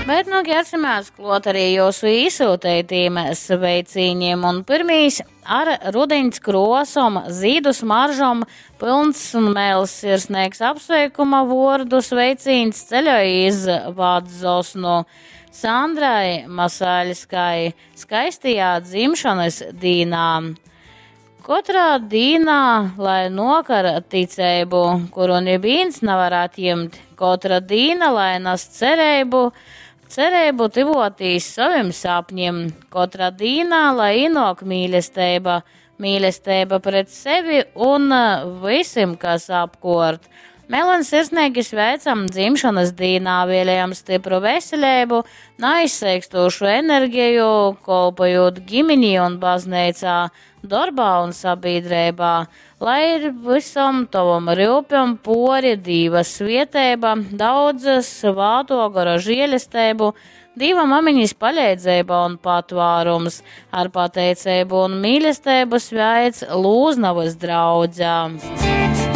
Bet nu ķersimies klot arī jūsu īsūteitīm sveicīņiem. Un pirmīs ar rudiņas krosom, zīdu smaržom, pilns un mēls sirsnīgs apsveikuma vordu sveicīns ceļoja iz Vadzosnu. Sandrai Masaļskai skaistajā dzimšanas dīnā. Katrā dīnā, lai nokar ticeibu, kuru nivīns nevar atjimt, katra dīna, lai nes cerību, cerību tivotīs savim sapņiem, katra dīnā, lai ienāk mīlestība, mīlestība pret sevi un visiem, kas apkort. Melni sirsnīgi sveicam dzimšanas dīnā, vēlējam stipru veselību, neizseikstošu enerģiju, kolpojot ģimenī un baznīcā, darbā un sabiedrībā. Lai ir visam tavam rūpam pori Dīva svietēba, daudzas svāto gara žēlestību, Dīva mamiņas palīdzība un patvārums, ar pateicību un mīlestību sveic Lūznavas draudzā.